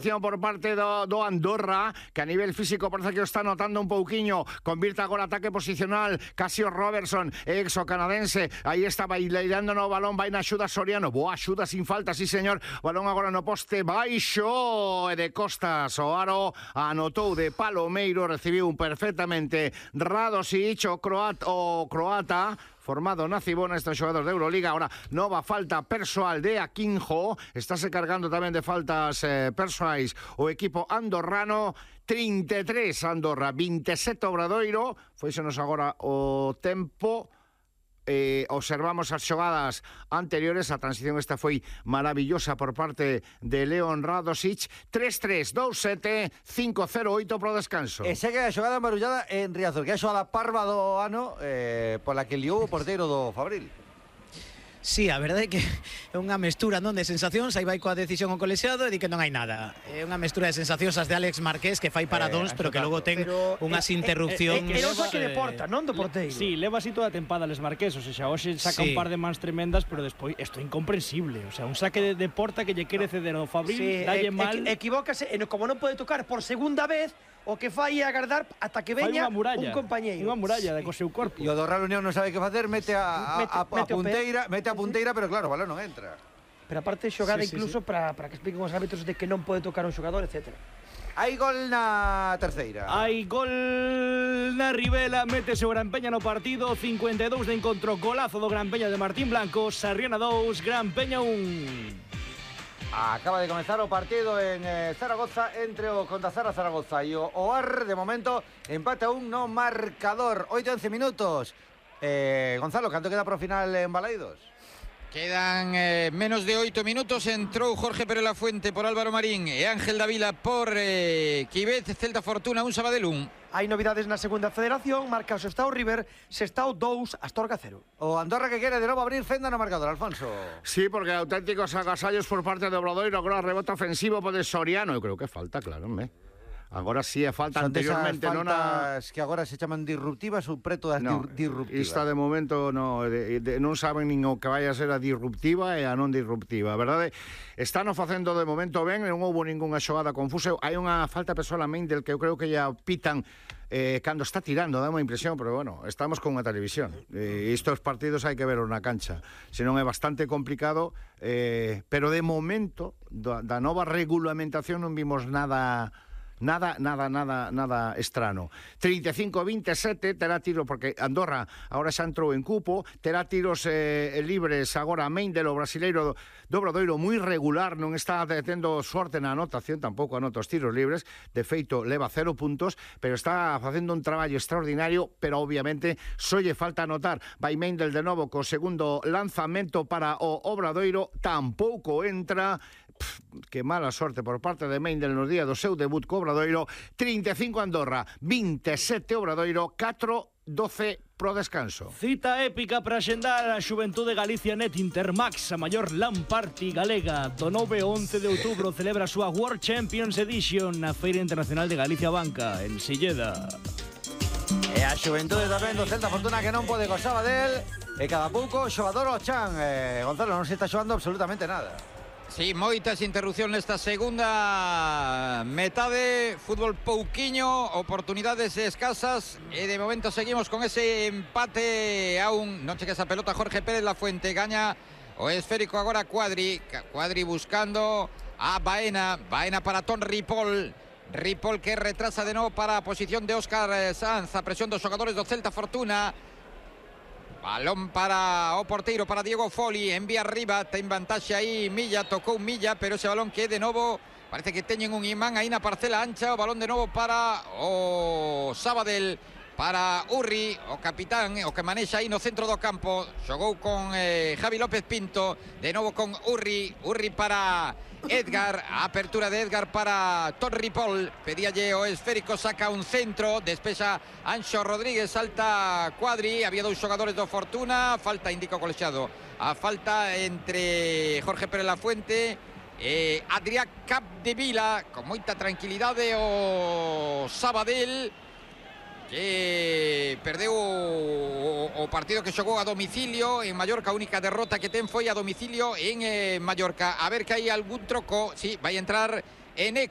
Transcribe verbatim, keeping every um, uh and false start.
Por parte do, do Andorra, que a nivel físico parece que o está notando un pouquiño. Convirta agora ataque posicional Casio Robertson, exo canadense. Aí está baileirando no balón, vai na axuda Soriano. Boa axuda sin falta, sí señor. Balón agora no poste baixo e de costas o aro. Anotou de Palomeiro, recibiu un perfectamente Radosic, o croata, o croata formado na Cibona, estes xogadores de Euroliga. Ahora nova falta persoal de Aquinjo. Estáse cargando tamén de faltas eh, persoais o equipo andorrano. trinta e tres Andorra, vinte e sete Obradoiro. Foisenos agora o tempo. Eh, observamos as xogadas anteriores. A transición esta foi maravillosa por parte de Leon Radosic. tres tres, dous sete, cinco cero oito pro descanso. E segue a xogada marullada en Riazor, que é a xogada parva do ano, eh, pola que liou o porteiro do Fabril. Sí, a verdade é que é unha mestura, non, de sensacións. Aí vai coa decisión o colexiado e di que non hai nada. É unha mestura de sensacións as de Alex Marqués, que fai paradóns, eh, pero que logo ten pero, unhas eh, interrupcións. É eh, eh, eh, que deporta, non do porteiro. Sí, leva así toda a tempada Alex Marqués. O sea, hoxe saca sí. un par de mans tremendas, pero despois isto é incomprensible. O sea, un saque de, de porta que lle quere ceder ao Fabril, sí, e, dalle mal. E, equivócase, e como non pode tocar por segunda vez, o que fai é agardar ata que veña un compañeiro. Unha muralla de co seu corpo. E o do Real Unión non sabe que facer, mete a, a, a, a, a punteira, mete a punteira, pero claro, o balón non entra. Pero aparte xogada sí, sí, incluso sí. para para que expliquen os árbitros de que non pode tocar un xogador, etcétera. Hai gol na terceira. Hai gol na Ribela, métese o Gran Peña no partido, cincuenta e dous de encontro, golazo do Gran Peña de Martín Blanco, Sarriona dous, Gran Peña un. Acaba de comenzar o partido en eh, Zaragoza entre o Condazara Zaragoza e o O A R. De momento, empate a un no marcador. oito once minutos. Eh, Gonzalo, canto queda pro final en Balaidos? Quedan eh, menos de oito minutos. Entrou Jorge Pérez Lafuente por Álvaro Marín e Ángel Davila por eh, Quibez, Celta Fortuna un, Sabadell un. Hai novidades na segunda federación. Marca o Sestao River, Sestao dous, Astorga cero. O Andorra que quere de novo abrir fenda no marcador, Alfonso. Sí, porque auténticos agasallos por parte de Obradoiro. Agora rebote ofensivo por de Soriano. Eu creo que falta, claro, me. Agora sí é falta. Son anteriormente non a... que agora se chaman disruptivas ou preto das no, disruptivas. Esta de momento no, de, de, non saben nin o que vai a ser a disruptiva e a non disruptiva, verdade? Están facendo de momento ben, non houbo ningunha xogada confusa. Hai unha falta persoal a Meindl que eu creo que ya pitan eh, cando está tirando, dá unha impresión, pero bueno, estamos con unha televisión. Eh, estos partidos hai que ver na cancha, senón é bastante complicado, eh, pero de momento da, da nova regulamentación non vimos nada... Nada, nada, nada, nada estrano. trinta e cinco a vinte e sete, terá tiro, porque Andorra agora xa entrou en cupo, terá tiros eh, libres agora a Meindl, o brasileiro do Obradoiro, moi regular, non está tendo sorte na anotación, tampouco anota os tiros libres, de feito leva cero puntos, pero está facendo un traballo extraordinario, pero obviamente só lle falta anotar. Vai Meindl de novo co segundo lanzamento para o Obradoiro, tampouco entra. Pff, que mala sorte por parte de Meindl nos días do seu debut co Obradoiro. trinta e cinco Andorra, vinte e sete Obradoiro, catro doce pro descanso. Cita épica para xendar a Xuventude Galicia Net Intermax, a maior LAN party galega. Do nove ao once de outubro celebra a súa World Champions Edition na Feira Internacional de Galicia Banca, en Silleda. E a Xuventude tamén do Celta Fortuna que non pode co Sabadell. E cada pouco xogador o chan. eh, Gonzalo, non se está xogando absolutamente nada. Sí, moitas interrupcións nesta segunda metade, fútbol pouquiño, oportunidades escasas e de momento seguimos con ese empate a un. Non cheque esa pelota Jorge Pérez Lafuente, gaña o esférico agora Cuadri, Cuadri buscando a Baena, Baena para Ton Ripoll, Ripoll que retrasa de novo para a posición de Óscar Sanz, a presión dos xogadores do Celta Fortuna. Balón para o porteiro, para Diego Foli, envía arriba, ten vantaxe aí Milla, tocou Milla, pero ese balón que de novo parece que teñen un imán aí na parcela ancha. O balón de novo para o Sabadell, para Urri, o capitán, o que manexa aí no centro do campo. Xogou con eh, Javi López Pinto, de novo con Urri, Urri para Edgar, a apertura de Edgar para Ton Ripoll, pedíalle o esférico, saca un centro, despexa Anxo Rodríguez, salta Cuadri, había dous xogadores do Fortuna, falta, indica o colexiado, a falta entre Jorge Pérez Lafuente e Adrián Capdevila, con moita tranquilidade o Sabadell, que perdeu o, o partido que xogou a domicilio en Mallorca. A única derrota que ten foi a domicilio en eh, Mallorca. A ver que hai algún troco. Sí, vai entrar Eneco.